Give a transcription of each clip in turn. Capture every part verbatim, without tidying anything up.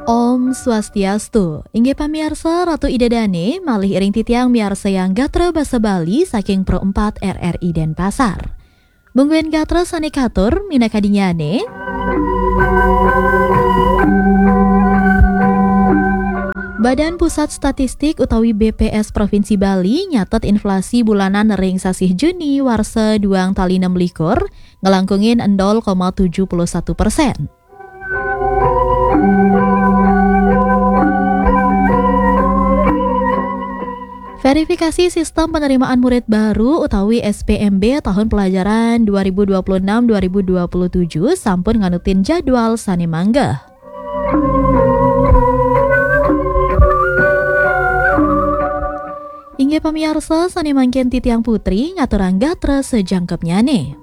Om Swastiastu. Inggih pamiarsa, Ratu Ida Dane malih iring titiang miarsayang gatra basa Bali saking Pro empat R R I Denpasar. Mungguing gatra sane katur minakadingyane. Badan Pusat Statistik utawi B P S Provinsi Bali nyatet inflasi bulanan ring sasih Juni warsa duang tali nem likur nglangkungin endol koma tujuh puluh satu persen. Verifikasi sistem penerimaan murid baru utawi S P M B tahun pelajaran dua ribu dua puluh enam dua ribu dua puluh tujuh sampun nganutin jadwal sane manggeh. Inggih pamiarsa, sane mangkin titiang Putri ngaturang gatra sajangkepnyane.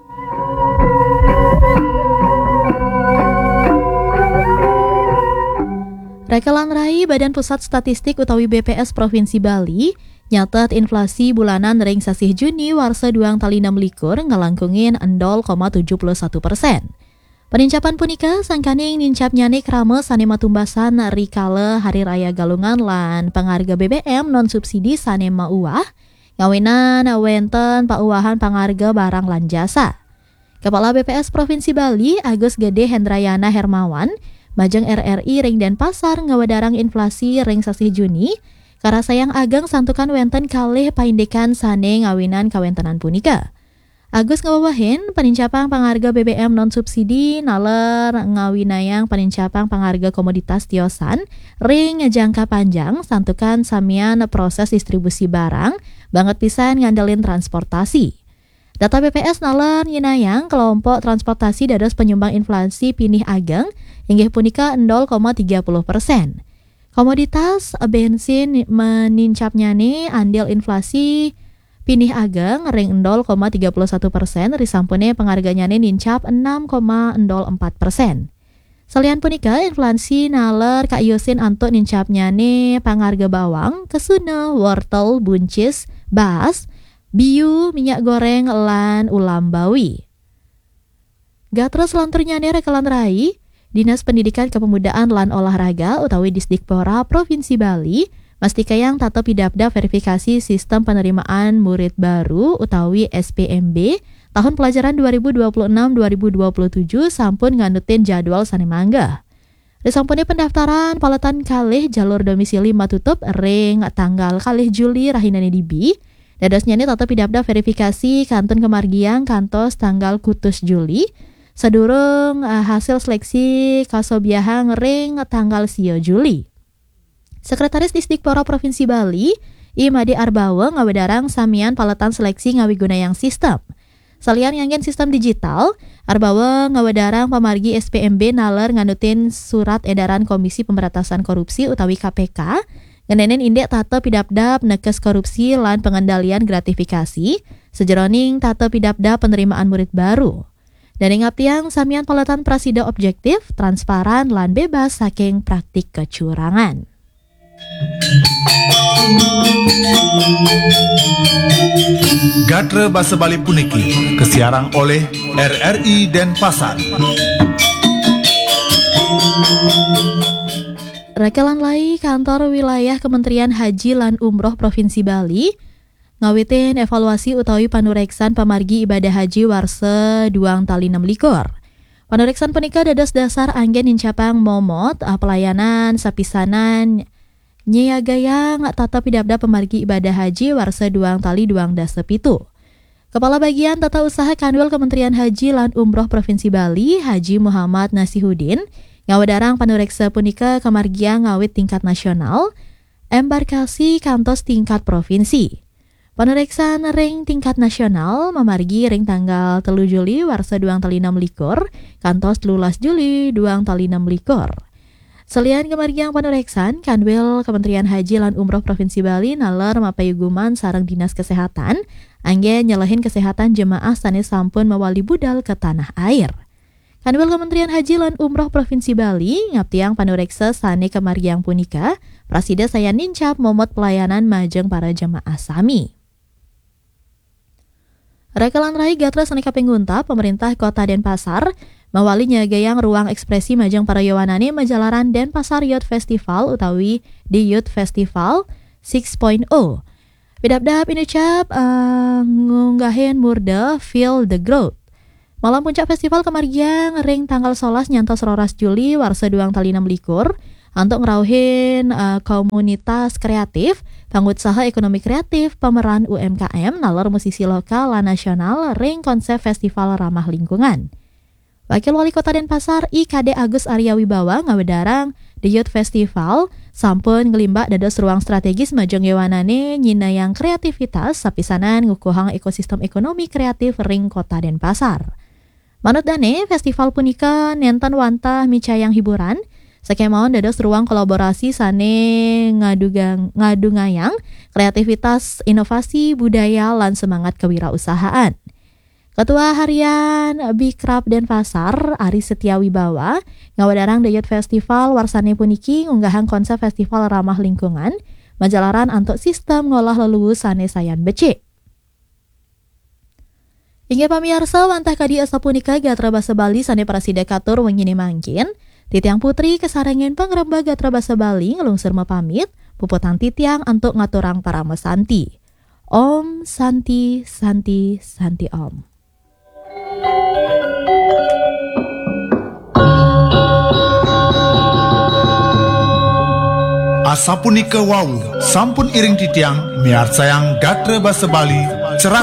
Reka lan rai, Badan Pusat Statistik utawi B P S Provinsi Bali nyatet inflasi bulanan ring sasih Juni warsa duang tali nem likur nglangkungin endol koma tujuh puluh satu persen. Panincapan punika sangkaning nincapnyane krama sane matumbasan rikala Hari Raya Galungan lan pangarga B B M non subsidi sane mauwah, ngawinan wenten pauwahan pangarga barang lan jasa. Kepala B P S Provinsi Bali, Agus Gede Hendrayana Hermawan, majeng R R I ring Denpasar ngawedarang inflasi ring sasih Juni karasayang ageng santukan wenten kalih paindikan sane ngawinan kawentenan punika. Agus ngawewehin, panincapang pangarga B B M non subsidi naler ngawinayang panincapang pangarga komoditas tiosan ring jangka panjang santukan samian proses distribusi barang, banget pisan ngandelin transportasi. Data B P S naler nyinayang kelompok transportasi dados penyumbang inflasi pinih ageng, inggih punika endol koma tiga puluh persen. Komoditas bensin menincapnyane andil inflasi pinih ageng ring endol koma tiga puluh satu persen, risampune pangarganyane nincap enam koma endol empat persen. Salian punika, inflasi naler kaiusin antuk nincapnyane pangarga bawang, kesuna, wortel, buncis, baas, biu, minyak goreng, lan ulam bawi. Gatra selanturnyane reka lan rai, Dinas Pendidikan Kepemudaan lan Olahraga utawi Disdikpora Provinsi Bali mastikayang tata pidabdab verifikasi sistem penerimaan murid baru utawi S P M B tahun pelajaran dua ribu dua puluh enam dua ribu dua puluh tujuh sampun nganutin jadwal sane manggeh. Risampune pendaftaran paletan kalih jalur domisili matutup ring tanggal kalih Juli rahinane dibi, dadosnyane tata pidabdab verifikasi kantun kamargiang kantos tanggal kutus Juli, sadurung, eh, hasil seleksi kasobiahang ring tanggal sia Juli. Sekretaris Disdikpora Provinsi Bali, I Made Arbawa, ngawedarang samian paletan seleksi ngawigunayang sistem. Salian nganggen sistem digital, Arbawa ngawedarang pamargi S P M B naler nganutin Surat Edaran Komisi Pemberantasan Korupsi utawi K P K, ngenenin indik tata pidabdab nekes korupsi lan pengendalian gratifikasi, sejeroning tata pidabdab penerimaan murid baru. Dane ngaptiang samian paletan prasida objektif, transparan, lan bebas saking praktik kecurangan. Gatra basa Bali puniki kasiarang oleh R R I Denpasar. Reka lan rai, Kantor Wilayah Kementerian Haji lan Umroh Provinsi Bali ngawitin evaluasi utawi panureksan pamargi ibadah haji warsa duang tali nem likur. Panureksan punika dados dasar anggen nincapang momot, ah, pelayanan sapisanan nyiagayang tata pidabdab pamargi ibadah haji warsa duang tali duang dasa pitu. Kepala Bagian Tata Usaha Kanwil Kementerian Haji lan Umroh Provinsi Bali, Haji Muhammad Nasihudin, ngawedarang panureksa punika kamargiang ngawit tingkat nasional, embarkasi kantos tingkat provinsi. Panureksan ring tingkat nasional mamargi ring tanggal telu Juli warsa duang tali nem likur kantos telulas Juli duang tali nem likur. Salian kamargiang panureksan, Kanwil Kementerian Haji lan Umroh Provinsi Bali naler mapayuguman sareng Dinas Kesehatan anggen nyelehin kesehatan jemaah sane sampun mawali budal ke tanah air. Kanwil Kementerian Haji lan Umroh Provinsi Bali ngaptiang panureksa sane kamargiang punika prasida sayan nincap momot pelayanan majeng para jemaah sami. Reka lan rai, gatra sane kaping untat, pemerintah Kota Denpasar Mawali nyagayang ruang ekspresi majeng para yowanane majalaran Denpasar Youth Festival utawi The Youth Festival six point oh. Pidabdab inucap eh, ngunggahin murda Feel the Growth. Malam puncak festival kamargiang ring tanggal solas nyantos roras Juli warsa duang tali enam likur antuk ngrauhin eh, komunitas kreatif, pangutsaha ekonomi kreatif, pameran U M K M, naler musisi lokal lan nasional ring konsep festival ramah lingkungan. Wakil Wali Kota Denpasar, I K D Agus Arya Wibawa ngawedarang The Youth Festival sampun nglimbak dados ruang strategis majeng yowanane nyinayang kreativitas sapisanan ngukuhang ekosistem ekonomi kreatif ring Kota Denpasar. Manut dane, festival punika nenten wantah micayang hiburan, sakemawon dados ruang kolaborasi sane ngadugang, ngadungayang kreativitas, inovasi, budaya, lan semangat kewirausahaan. Ketua Harian Bikraf Denpasar, Ari Setia Wibawa, ngawedarang The Youth Festival warsane puniki ngunggahang konsep festival ramah lingkungan, majalaran antuk sistem ngolah leluwu sane sayan becik. Inggih pamiarsa, wantah kadi asapunika gatra basa Bali sane prasida katur wengine mangkin. Titiang Putri kasarengin pangrembag gatra basa Bali nglungsur mapamit, puputang titiang antuk ngaturang parama santi. Om Santi, Santi, Santi Om. Asapunika wau, sampun iring titiang miarsayang gatra basa Bali